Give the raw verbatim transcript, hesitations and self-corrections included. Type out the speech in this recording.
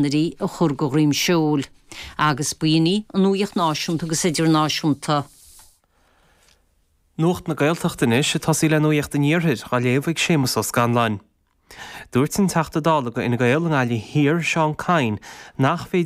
a chur go dhroim seoil, agus b'in í an nuacht náisiúnta agus idirnáisiúnta. Nuacht na Gaeltachta anois ag tosaí le nuacht an Iarthair á léamh ag Séamus Ó Scanláin. Dúirt an Teachta Dála do Fhine Gael i nGaillimh Thiar Seán Kyne nach féidir